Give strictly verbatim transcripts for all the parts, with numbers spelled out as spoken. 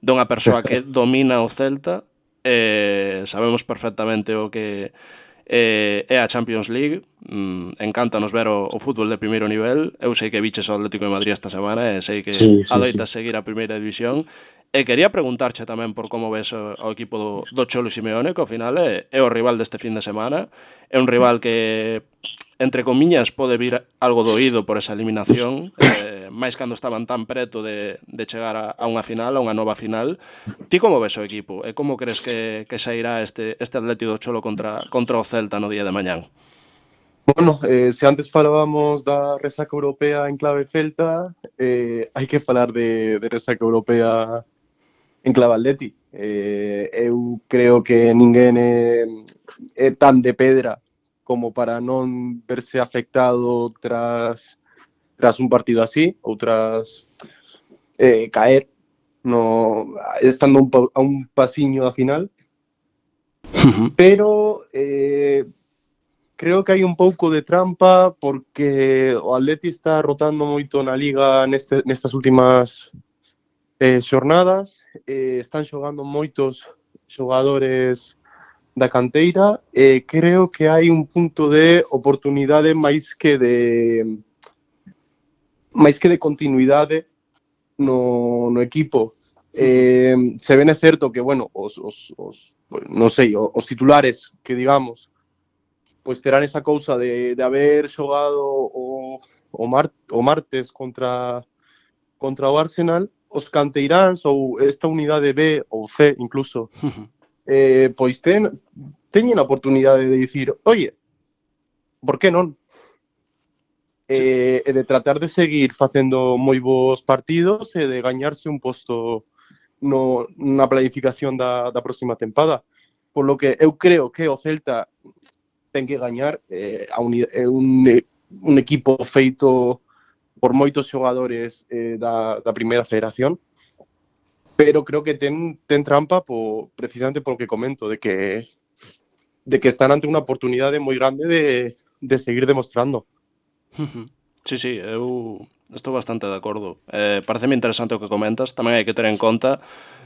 dunha persoa que domina o Celta, eh, sabemos perfectamente o que eh, é a Champions League, mm, encántanos ver o, o fútbol de primeiro nivel. Eu sei que viches o Atlético de Madrid esta semana e sei que Sí, sí, adoitas sí. seguir a primeira división, e quería preguntarche tamén por como ves o, o equipo do, do Cholo Simeone, que ao final é, é o rival deste fin de semana, é un rival que entre comiñas pode vir algo doído por esa eliminación, eh, máis cando estaban tan preto de, de chegar a, a unha final, a unha nova final. Ti como ves o equipo? E como crees que, que sairá este, este Atlético do Cholo contra, contra o Celta no día de mañán? Bueno, eh, se antes falábamos da resaca europea en clave celta, eh, hai que falar de, de resaca europea en clave atleti. Eh, eu creo que ninguén é, é tan de pedra como para non verse afectado tras, tras un partido así, ou tras eh, caer no, estando un, a un pasiño da final. Pero eh, creo que hai un pouco de trampa porque o Atleti está rotando moito na Liga neste, nestas últimas eh, xornadas, eh, están xogando moitos xogadores da canteira e eh, creo que hai un punto de oportunidade máis que de máis que de continuidade no, no equipo. Eh, se ven é certo que, bueno, os, os, os non sei, os titulares que digamos pois terán esa cousa de, de haber xogado o, o, mar, o martes contra, contra o Arsenal, os canteiráns ou esta unidade B ou C incluso, eh, pois ten, teñen a oportunidade de dicir, oye, por que non? Sí. E, e de tratar de seguir facendo moi bons partidos e de gañarse un posto no, na planificación da, da próxima tempada. Por lo que eu creo que o Celta ten que gañar, eh, a un, é un, un equipo feito por moitos xogadores eh, da, da primeira federación, pero creo que ten, ten trampa po, precisamente polo que comento, de que de que están ante unha oportunidade moi grande de, de seguir demostrando. Sí, sí, eu estou bastante de acordo. Eh, pareceme interesante o que comentas. Tamén hai que ter en conta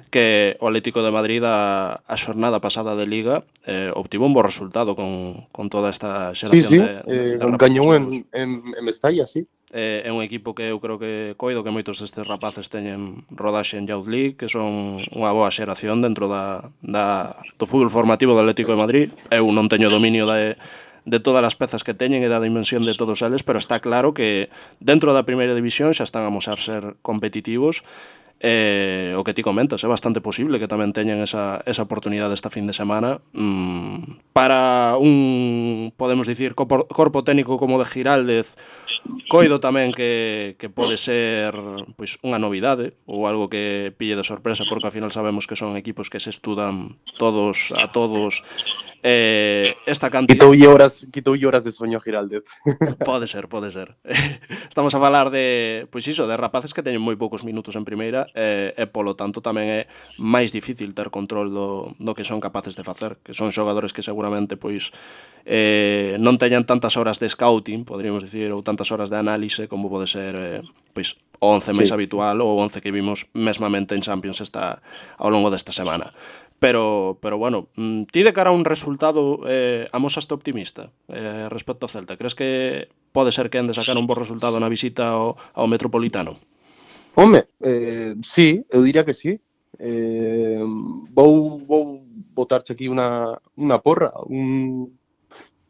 que o Atlético de Madrid a, a xornada pasada de Liga eh, obtivo un bo resultado con, con toda esta Sí, xeración sí, de, de, eh, de rapaces gañou novos. en, en, en Mestalla, sí. Eh, é un equipo que eu creo que coido que moitos destes rapaces teñen rodaxe en Youth League, que son unha boa xeración dentro da, da, do fútbol formativo do Atlético de Madrid. Eu non teño dominio de, de todas as pezas que teñen e da dimensión de todos eles, pero está claro que dentro da primeira división xa están a mostrar ser competitivos. Eh, o que ti comentas, é bastante posible que tamén teñan esa, esa oportunidade esta fin de semana. mm, para un, podemos dicir, corpo, corpo técnico como de Giraldez, coido tamén que, que pode ser pois unha novidade ou algo que pille de sorpresa, porque ao final sabemos que son equipos que se estudan todos a todos. Eh, esta cantidad Quitoulle horas, quitoulle horas de soño a Giraldez. Pode ser, pode ser. Estamos a falar de, pois iso, de rapaces que teñen moi poucos minutos en primeira e, e polo tanto tamén é máis difícil ter control do, do que son capaces de facer, que son xogadores que seguramente pois eh, non teñan tantas horas de scouting, poderíamos dicir, ou tantas horas de análise como pode ser eh, pois o once máis Sí. habitual ou o once que vimos mesmamente en Champions esta, ao longo desta semana. Pero, pero bueno, ti de cara a un resultado eh, amosaste optimista eh, respecto ao Celta? Crees que pode ser que ande sacar un bo resultado na visita ao, ao Metropolitano? Home, eh, sí, eu diría que sí. Eh, vou, vou botarche aquí unha, unha porra, un,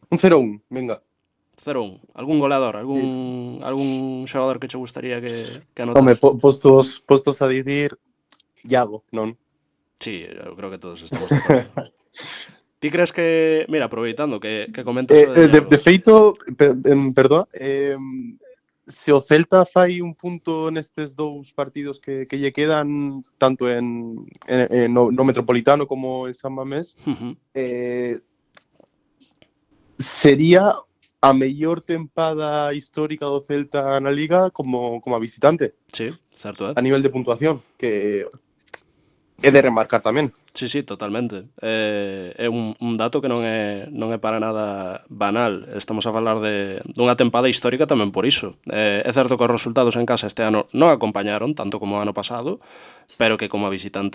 un cero un, venga. cero un. Algún goleador? Sí. Algún, algún xogador que che gustaría que, que Home, anotase? po, postos, postos a dicir, Iago, non? Sí, eu creo que todos estamos de acordo. Ti crees que, mira, aproveitando que, que comentas eh, o de de, Iago, de feito, per, em, perdoa, eh, se o Celta fai un punto nestes dous partidos que, que lle quedan, tanto en, en, en no, no Metropolitano como en San Mamés, uh-huh. eh, sería a mellor tempada histórica do Celta na Liga como, como a visitante. Sí, certo, eh? A nivel de puntuación, que é de remarcar tamén. Sí, sí, totalmente. Eh, é un, un dato que non é, non é para nada banal. Estamos a falar de dunha tempada histórica tamén por iso. Eh, é certo que os resultados en casa este ano non acompañaron tanto como o ano pasado, pero que como a visitante